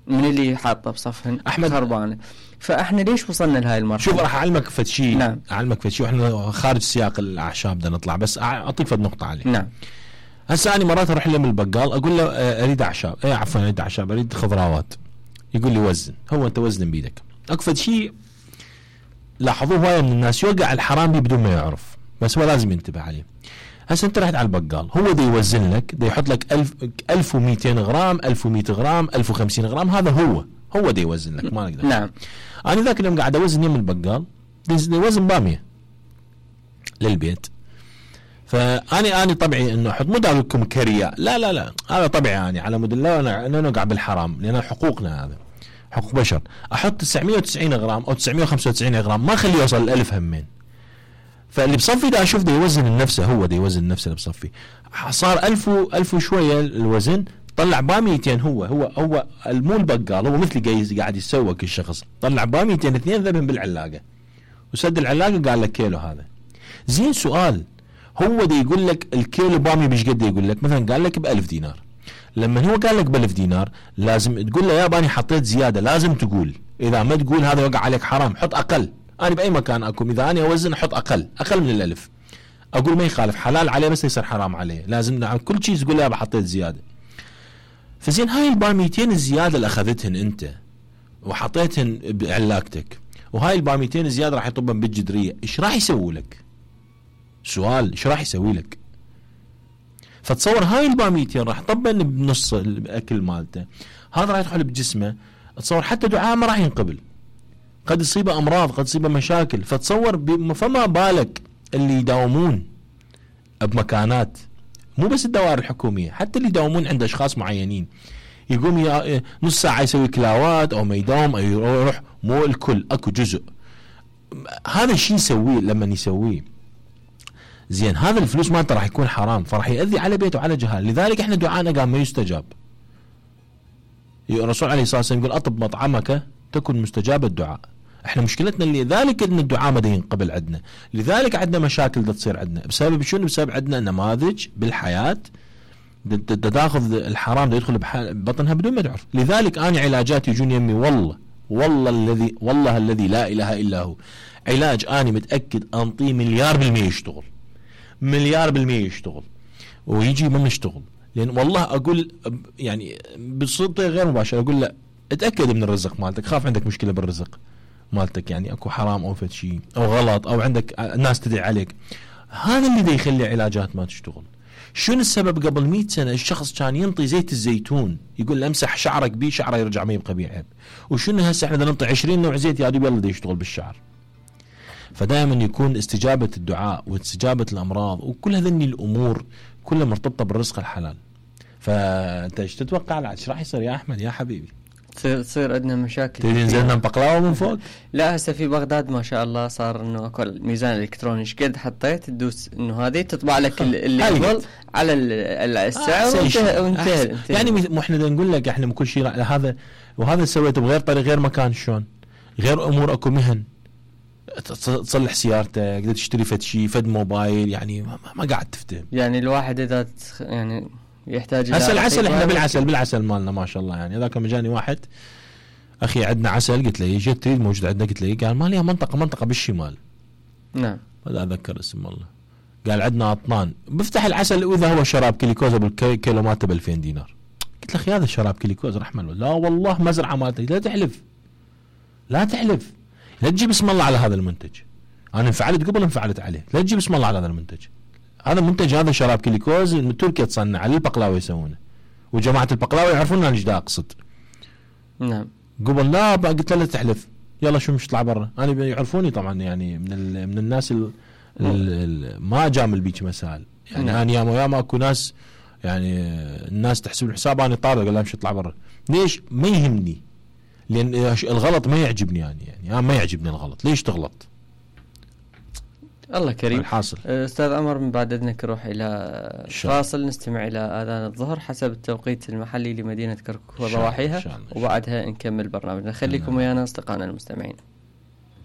من اللي حاطه بصفهن احمد خربانه. فاحنا ليش وصلنا لهاي المرحله؟ شوف راح اعلمك فد شيء. نعم. اعلمك فد شيء واحنا خارج سياق الاعشاب بدنا نطلع، بس اعطيك فد نقطه عليه. نعم. هسه انا مرات اروح له من البقال اقول له اريد اعشاب، عفوا اريد اعشاب، اريد خضروات. يقول لي وزن. هو انت وزن بيدك. اكو فد شيء لاحظوه هوايه من الناس، يوقع الحرام بيه بدون ما يعرف، بس هو لازم ينتبه عليه. هسه انت رحت على البقال، هو دا يوزن لك، دا يحط لك 1200 غرام 1100 غرام 1050 غرام، هذا هو دا يوزن لك، ما نقدر. نعم. انا ذاك اليوم قاعد اوزن يم البقال، دا يوزن باميه للبيت. فاني طبعي انه احط، مو داول لكم كرياء، لا هذا طبعي اني على مود الله انا نوقع بالحرام، لان حقوقنا، هذا حقوق بشر. احط 990 غرام او 995 غرام، ما اخليه يوصل ال1000 همين. فاللي بصفي دا اشوف دا يوزن النفسه، هو دا يوزن نفسه اللي بصفي، صار 1000 وشويه الوزن، طلع باميتين. هو مو البقال، هو مثلي قاعد يسوق الشخص، طلع باميتين، اثنين ذبهم بالعلاقه وسد العلاقه، قال لك كيلو هذا. زين سؤال، هو دا يقول لك الكيلو بامي بيش قد يقول لك؟ مثلا قال لك ب1000 دينار. لما هو قال لك ب1000 دينار لازم تقول له يا باني حطيت زياده، لازم تقول. اذا ما تقول هذا يوقع عليك حرام، حط اقل. انا باي مكان اكون اذا انا اوزن احط اقل من ال1000، اقول ما يخالف، حلال عليه بس يصير حرام عليه، لازم نعم كل شيء تقول يا حطيت زياده. فزين هاي الباميتين الزياده اللي اخذتهن انت وحطيتهن بعلاقتك، وهاي الباميتين الزياده راح يطبن بالجدريه، ايش راح يسوي لك؟ سؤال، ايش راح يسوي لك؟ فتصور هاي الباميتين راح طبن بنص الاكل مالته، هذا راح يدخل بجسمه، تصور حتى دعاء ما راح ينقبل، قد يصيبه امراض، قد يصيبه مشاكل. فتصور فما بالك اللي يداومون بمكانات، مو بس الدوائر الحكوميه، حتى اللي يداومون عند اشخاص معينين، يقوم نص ساعه يسوي كلاوات او ما يداوم او يروح، مو الكل، اكو جزء. هذا الشيء يسويه لما يسويه زين، هذا الفلوس مالته راح يكون حرام، فراح يؤذي على بيته وعلى جهال. لذلك احنا دعانا قام ما يستجاب. الرسول عليه الصلاه والسلام يقول اطب مطعمك تكن مستجاب الدعاء. احنا مشكلتنا اللي ذلك ان الدعاء ما ينقبل عندنا، لذلك عندنا مشاكل تصير عندنا. بسبب شنو؟ بسبب عندنا نماذج بالحياه تاخذ الحرام يدخل ببطنها بدون ما تعرف. لذلك انا علاجاتي يجون يمي، والله الذي لا اله الا هو، علاج اني متاكد انطيه 1,000,000% يشتغل، 1,000,000% يشتغل، ويجي من يشتغل. لان والله اقول يعني بصوتي غير مباشر، اقول لا اتاكد من الرزق مالتك، خاف عندك مشكله بالرزق مالتك، يعني اكو حرام او فد شيء او غلط او عندك ناس تدعي عليك، هذا اللي دا يخلي علاجات ما تشتغل. شنو السبب؟ قبل 100 سنه الشخص كان ينطي زيت الزيتون، يقول له امسح شعرك بيه، شعره يرجع ما يبقى بيه عيب. وشنو هسه احنا بدنا ننطي 20 نوع زيت يا يلا دا يشتغل بالشعر. فدائما يكون استجابه الدعاء واستجابه الامراض وكل هذني الامور كلها مرتبطه بالرزق الحلال. فانت ايش تتوقع ايش راح يصير يا احمد يا حبيبي؟ تصير عندنا مشاكل. تريد نزلنا بقلاوه من فوق؟ لا هسه في بغداد ما شاء الله صار انه اكو ميزان الكتروني، ايش قد حطيت تدوس انه هذه تطبع لك اللي قبل على السعر وانتهى. يعني مو احنا نقول لك احنا كل شيء هذا وهذا سويته بغير طريق غير مكان، شلون غير امور، اكو مهن تصلح سيارتك، تقدر تشتري فد شيء، فد موبايل، يعني ما قاعد تفتهم. يعني الواحد اذا يعني يحتاج هسه العسل، احنا بالعسل مالنا ما شاء الله. يعني هذاك مجاني واحد اخي عندنا عسل، قلت له يجي تريد موجود عندنا، قلت له قال ما ليها منطقه بالشمال. نعم هذا اتذكر اسم والله. قال عندنا اطنان بفتح العسل، واذا هو شراب كليكوزا بالكيلو مالته ب 2000 دينار. قلت له اخي هذا الشراب كليكوزا رحمه الله، لا والله مزرعه مالتك، لا تحلف لا تجيب اسم الله على هذا المنتج. انا انفعلت قبل انفعلت عليه، لا تجيب اسم الله على هذا المنتج. هذا منتج، هذا شراب كليكوز من تركيا تصنع، على البقلاوه يسوونه، وجماعه البقلاوه يعرفون انا ايش دا اقصد. نعم. قبل لا قلت له لا تحلف، يلا شو مش طلع برا. انا يعرفوني طبعا، يعني من الناس ما جامل بيك مسائل، يعني انا ياما اكو ناس يعني الناس تحسب الحساب انا طارق، قال لا مش اطلع برا. ليش؟ ما يهمني، لان الغلط ما يعجبني، يعني ما يعجبني الغلط. ليش تغلط؟ الله كريم. الحاصل استاذ عمر، من بعد اذنك نروح الى فاصل نستمع الى اذان الظهر حسب التوقيت المحلي لمدينه كركوك وضواحيها، وبعدها نكمل برنامجنا. خليكم ويانا اصدقائنا المستمعين.